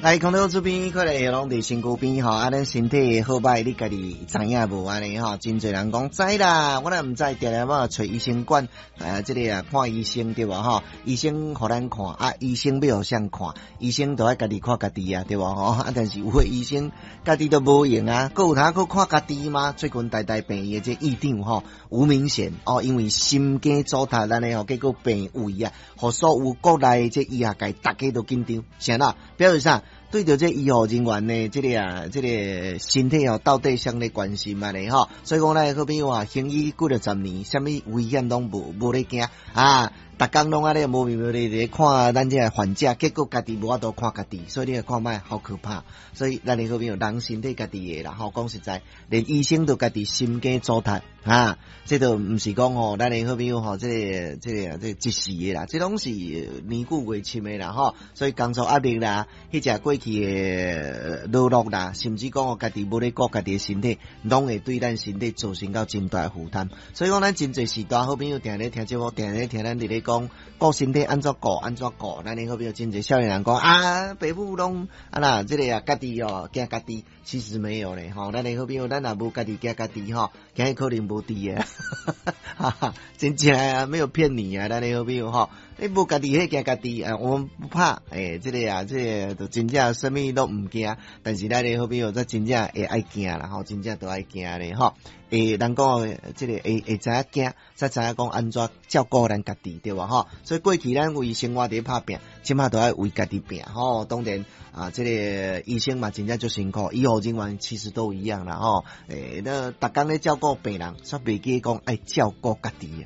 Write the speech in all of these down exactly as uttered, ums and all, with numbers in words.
來，空中這邊可能攏佇身軀邊吼，啊，咱身體好䆀，你家己知影無按呢吼？真濟人講知啦，我若毋知，定定欲揣醫生管，啊，這個啊看醫生對無吼？醫生予咱看，啊，醫生欲予誰看？醫生都愛家己看家己啊，對無吼？啊，但是有的醫生家己都無閒啊，閣有通閣看家己嗎？最近台大病院的這院長吼，吳明賢哦，因為心肌阻塞按呢吼，結果病危啊，予所有國內這醫學界逐家都緊張，啥啦？表示啥？對著這醫護人員的這個啊，這個身體哦，到底啥咧關心按呢吼？所以講咱的好朋友啊，行醫幾若十年，啥物危險攏無無咧驚啊！逐工攏按呢無眠無咧咧看咱這個患者，結果家己無法度看家己，所以你來看覓好可怕。所以咱的好朋友，人身體家己的啦吼，講實在，連醫生都家己心肌阻塞啊！這都毋是講吼，咱的好朋友吼，這個這個這個一時的啦，這攏是年久月深的啦吼。所以工作壓力啦，彼隻過去的勞碌啦，甚至講家己無咧顧家己的身體，攏會對咱身體造成到真大負擔。所以講，咱真濟時代好朋友定咧聽節目，定咧聽咱佇咧講顧身體按怎顧，按怎顧。咱的好朋友真濟少年人講啊，爸母攏啊啦，這個啊家己哦驚家己，其實沒有咧吼。咱的好朋友，咱若無家己驚家己吼，今日可能無佇啊，哈哈，真正啊，沒有騙你啊，咱的好朋友吼，你無家己彼驚家己啊，我們不怕，欸，這個啊，這個就真正啥物攏毋驚，但是咱的好朋友才真正會愛驚啦吼，真正都愛驚咧吼。會人講這個會會知影驚，才知影講按怎照顧咱家己對無吼？所以過去咱為生活佇拍拚，這馬都愛為家己拚吼。當然啊，這個醫生嘛真正足辛苦，醫護人員其實都一樣啦吼。欸，那逐工咧照顧病人，煞袂記講愛照顧家己啊。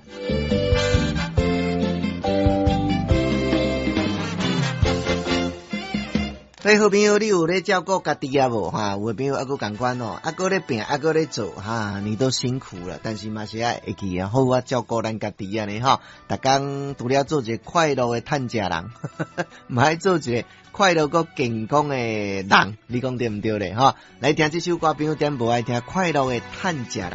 欸，好朋友，你有咧照顧家己啊無？哈，有的朋友猶閣仝款哦，猶閣咧拚，猶閣咧做，哈，你都辛苦了，但是嘛是愛會記啊，好好照顧咱家己按呢吼。逐工除了做一個快樂的趁食人，嘛愛做一個快樂閣健康的人，你講對毋對咧？吼，來聽這首歌，朋友點無愛聽快樂的趁食人。